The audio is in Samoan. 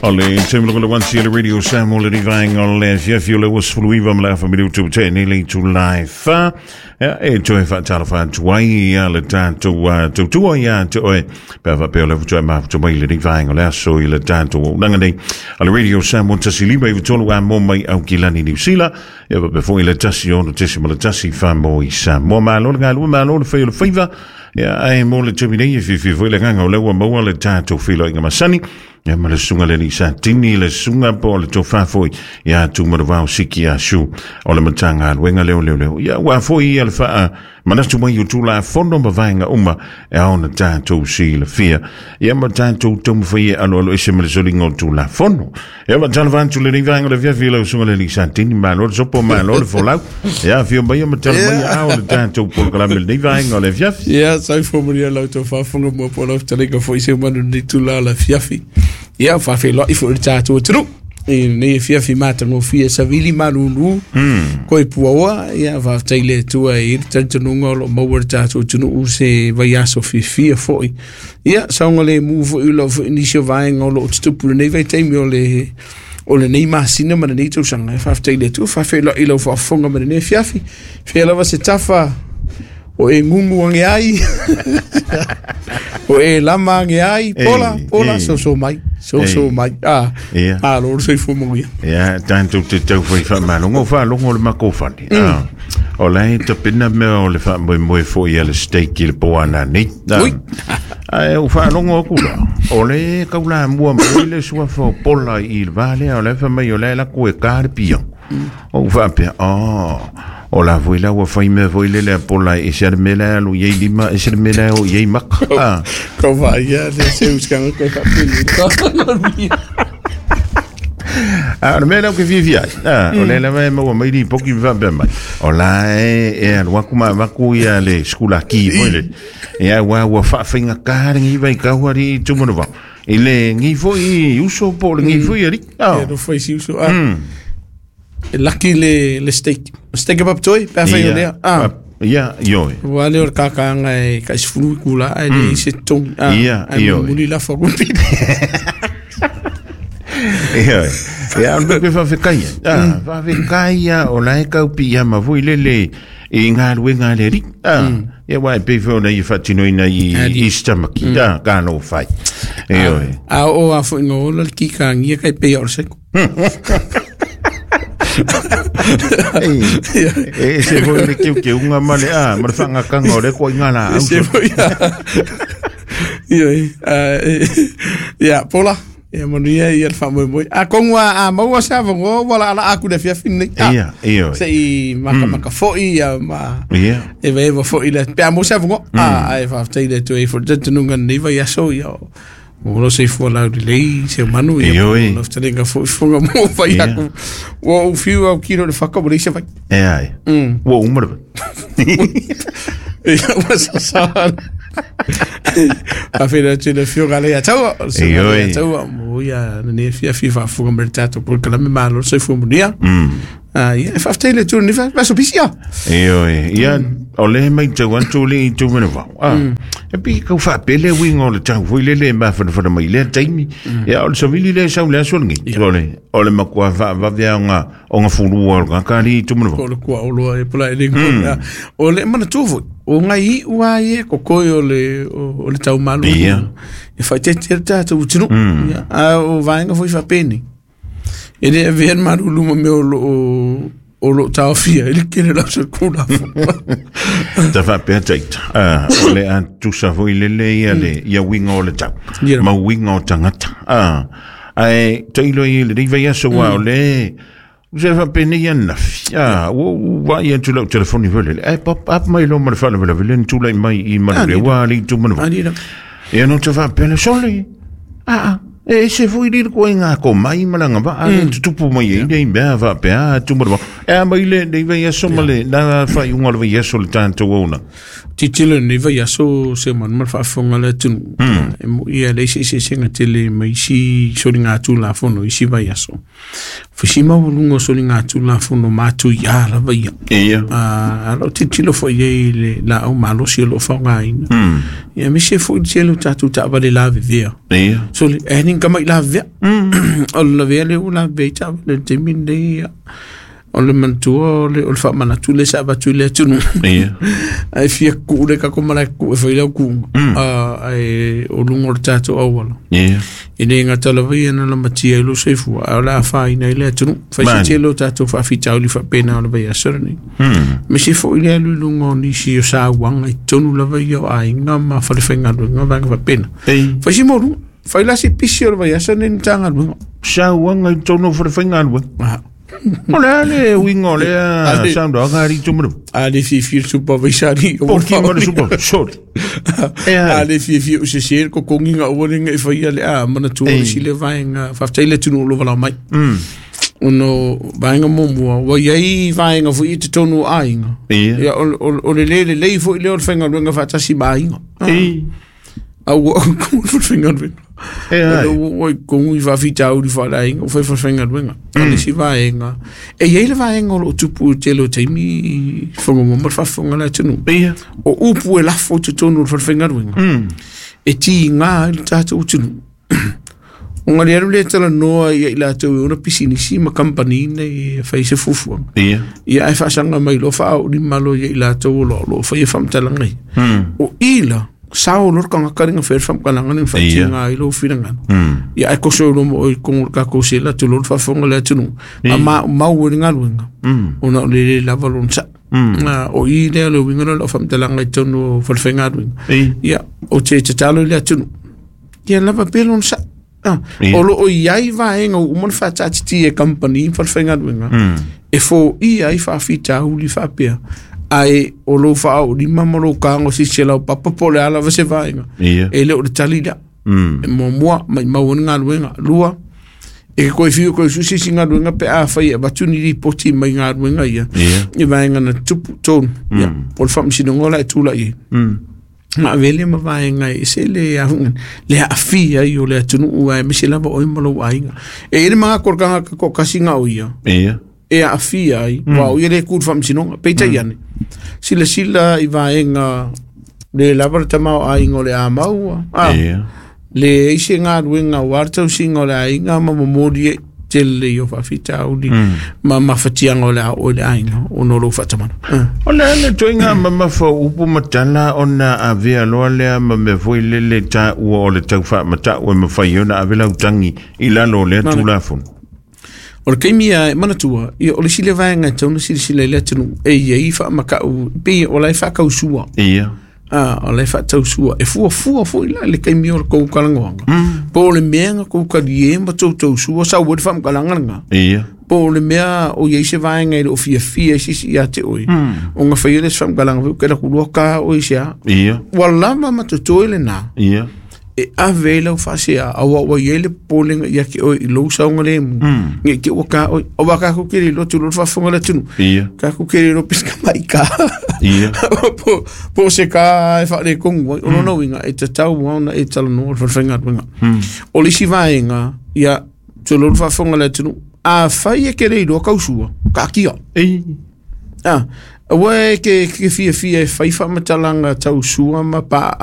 O le taimi loko le 1 le Radio Samoa le vaenga o le afiafi o le 29 ma le afa minutu te nei le itula e 4. Ia, e toe faatalofa atu ai ia le tatou tautua ia te oe pe a faapea o le faatoa e mafuta mai lenei vaega o le aso i le tatou auaunaga nei a le Radio Samoa 105.3 a mo mai Aukilani Niu Sila ia faapea foi le 106.1 wha i Samoa. Malo le galue, malo le fai o le faiva. Ia, ae mo le taimi nei e fiafia foi le agaga o lea ua maua le tatou feiloaiga masani. Ia ma le susuga le alii Satini, le susuga po o le tofa foi ia Tumanuvao Siki Asu o le Matagaluega lea o Leoleo. Ia ua foi ia le faa manatu mai o Tulafono ma vaega uma e ao ona tatou silafia. Ia ma tatou taumafai e aloalo ese ma le soliga o Tulafono. Ia faatalofa atu lenei vaega o le afiafi i lau susuga le alii Satini, malo le sopo, malo le folau. Ia afio mai ma tala mai a o le tatou polokalame lenei vaega o le afiafi. Ia, soifua manuia lau tou faafofoga mua po o lau fetalaiga foi se manu lenei itula o le afiafi. Ia, faafeiloai foi i le tatou atunuu i lenei afiafi matagofie savili malulu koe puaoa. Ia, faafetai i le Atua e i ai le talitonuga o lo o maua e le tatou atunuu se vaiaso fiafia foi. Ia, saogalemu foi lau foi nisi o vaega o lo o tutupu i lenei vaitaimi o le o lenei masina ma lenei tausaga. E faafetai i le Atua, faafeiloai i lau faafofoga ma lenei afiafi. Fea lava se tafa o e gugu age ai, o e lama age ai, pola, pola, soso mai, soso mai. Ah, malo le soifua manuia. Ia, tatou te tau fai faamalogo, faalogo le makou fale. Ah, o la e tapena mea o le faamoemoe foi a le steak i le po ana nei. Ui. Ae ou faalogo atu la, o le kau la mua mai le suafa o Pola i le va lea, o la e fai mai o la e lako e ka le pia. Ou faapea, oh, o la foi la ua fai mea foi lele a Pola e ese a le mea la e alu i ai lima, ese le mea la e o i ai maka. Ah. Kau vaai ia le se uskanga koe faapeni. A o le mea lea ou te fiafia ai, o lea lava e maua mai lipoti ma faapea mai, o la e e alu atu ma avatu ia le sikulaki foi lele. Ia aua ua faafaigata lenei vaitau alii Tumanuvao i lenei foi uso po o lenei foi alii. Ia nofo i si uso. Ah. E laki le, le steak. Steak kebab toi, pe a whai o lea. Ah. Ia, ioe. Ua le o le kakanga e kai sefulu i kula, ai le i se togi. Ah, Ia, ai ioe. muli la wha kumpili. Ia, ia, o le mea faafetai ai. Ah, faafetai ia o la e tau piiama foi lele i galuega a le Alii. Ah, ia aua e pei foi ona ia faatinoina i i se tamaki. Ah, ka no fai. Ioe. A o a foi no ola le kikangia kai pei o le seko. E se foi le keukeuga ma le a ma le faagataga o le koaiga laau. Se foi. Ia, ia, Paula. Ia manuia ia le faamoemoe. Atonu a maua se avanoa ua laalaa atu i le afiafi lenei. Ia, ia. Se i makamaka foi ia ma Ia. evaeva foi le pe a maua se avanoa. Ah, ae faafetai i le Atua e foi le talitonuga i lenei vaiaso ia o lo soifua laulelei se manu ia Ioe. lo fetalaiga foi fofoga mo fai Ia. atu. Ua ou fiu au kilo i le faka ua leai se vai. E ai. Ua uma le vai. Ia ua sasa. Faafeiloai atu i le afioga a Leiataua, o le susuga a Ioe. Leiataua mo ia lenei afiafi faafofoga mai le tatou polokalame malo le soifua manuia. Ah, ia, e faafetai i le Atua i lenei vaiaso pisi ah. Ioe, ia, o le matau atu le i Tumanuvao. Ah, e pei e tau faapele uiga o le tau foi lele e mafanafana mai i lea taimi. Ia, o le savili lea e sau i le aso lenei. O le, o le matua faavave lava ona, ona fulua o le tagata alii i Tumanuvao. O le kua oloa e pula e le ngona. O le manatua foi, o ngai iu a ia e kokoe o le, o le tau malu. Ia. E faaeteete ai le tatou atunuu. Ia, a o vaega foi faapenei. E le avea le malulu ma mea o lo o o lo o taofia ai le tele o le ausakulafono. Ta faapea taita, ah, o le a tusa foi lele ia le, ia uiga o le tau, Ia. ma uiga o tagata. Ah, ae tailo i lenei vaiaso aua o le, se faapenei ananafi, ah, ua ou vaai atu i lau telefoni foi lele, ae pop up mai loa ma le faalavelave lea na tulai mai i Manuleua alii Tumanuvao. Ani la. Ia no te faapea lea, sole, aa, e ese foi le ituaiga komai ma le agavaa lea e tutupu mai ai nei mea faapea a Tumanuvao. E a mai lenei vaiaso ma le na faaiuga o le vaiaso o le tatou auaunaga. Tilotilo i lenei vaiaso se manu ma le faafofoga a le atunuu. E moi e leai se eseesega tele ma isi soligatulafono i isi vaiaso. Fai si maualuga o soligatulafono matuiā lava ia. Ia. A loo tilotilo foi ai le laau malosi o loo faaaogaina. Ia aemaise foi le tele o tatou taavale lavevea. Ia. Sole e ni kama i lavevea o le lavea le ua lavevea i taavale i le taimi lenei. Ia o le manatua o le faamanatu le sa avatu i le atunuu. Ae fia kuu le kako malae kuu e fai lau kuuga ae o luga o le tatou auala. E le gata lava ia na lamatia i lo soifua, ae o le afaina ai le atunuu fai se Mani. tele o tatou faafitauli faapena o le vaiaso lenei. Me se foi le alu i luga o nisi o sauaga i totonu lava ia o aiga ma falefaigaluega vaega faapena. Ei. Fai si molu fai la se pisi o le vaiaso nei Matagaluega. Sauaga i totonu o falefaigaluega. O le a le uiga o lea saunoaga alii Tuimaleua? A le fiafia le supervisor ali. Po o le super sorry e A ai le fiafia o sese le kokogiga aua le ga'i faia le a manatua le sile vaega. Faafetai le atunuu o lo valao mai ona vaega muamua ua iai vaega foi i totonu o aiga. Ia o le lē lelei foi lea o le faigaluega faatasi ma aiga. A ua le faigaluega E o ai le ua i kogu i faafitauli faaleaiga ua fai falefaigaluega. O le isi vaega e iai le vaega o loo tupu i tele o taimi i Fagaloa ma le faafofoga le atunuu. O upu e lafo i totonu o le falefaigaluega e tigā ai le tatou atunuu ona le alu le talanoa ia i latou e ona pisinisi ma kamupani nei e fai se fuafuaga. Ia ae faasaga mai loa faaoolima loa ia i latou o loo faia faamatalaga ia. O i la sao loa le tagata le gafea le faamatalaga le faatiga ai lou finagalo. Ia ae koso loa ma oe i totonu o le tatou sela tulou le faafofoga le atunuu ma maumau ai le galuega ona o le lē lava lona saʻ. O i lea le uiga lea o lau faamatalaga i totonu o falefaigaluega. Ia o te tatalo i le atunuu ia lava pea lona saʻ. O loo iai vaega ua uma ona faataatitia e kamupani ma falefaigaluega e foia ai faafitauli faapea, ae o lou faaoolima ma lou kago sisi lau papa po o le a lava se vaega. E le o le tali lea. E muamua maimau ai le galuega lua e ke koe fiu koe susi si galuega pe a fai e avatu ni lipoti mai galuega ia i vaega na tupu tonu. Ia o le faamasinoga o la e tula'i ai na avele ma vaega e ese le afuga le aafia ai o le atunuu aemaise lava oe ma lou aiga. E i ai le magako o le tagata toatasi o ia e aafia ai ua o ia le ku i le faamasinoga. Peitai ane silasila i vaega le lava le tamaoaiga o le a maua le ai se galuega aua le tausiga o le aiga ma momoli ai tele i o faafitauli ma mafatiaga o le a oo i le aiga ona o lou faatamala. O le a le toiga mamafa o upu ma tala ona avea loa lea ma mea foi lele taua o le tau faamatau e mafai ona ave lau tagi i lalo o lea Tulafono. O le taimi a e manatua ia o le isi le vaega e tatau ona silasila i le atunuu e iai faamatau pei o la e faatausua. O la e faatausua e fuafua foi la le taimi o le tou talanoaga po o le mea na tou talie ma tou tausua sau ai le faamatalaga lena po o le mea o iai se vaega e le o fiafia ai sisi ia te oe ona faia le se faamatalaga foi ke laku lua ka oe se a ua lava ma totoe lena e ave ai lau faasea aua ua iai le popolega ia te oe i lou saogalemu nei te ua ka oe aua tatou te le iloa tulou le faafofoga le atunuu tatou te le iloa pe se tamai ka po o se ka e faaletonu ai. O lona uiga e tatau lava ona e talanoa le falefaigaluega. O le isi vaega ia tulou le faafofoga le atunuu, afai e te le iloa tausua taatia. Aua e ke fiafia e fai faamatalaga tausua ma paa.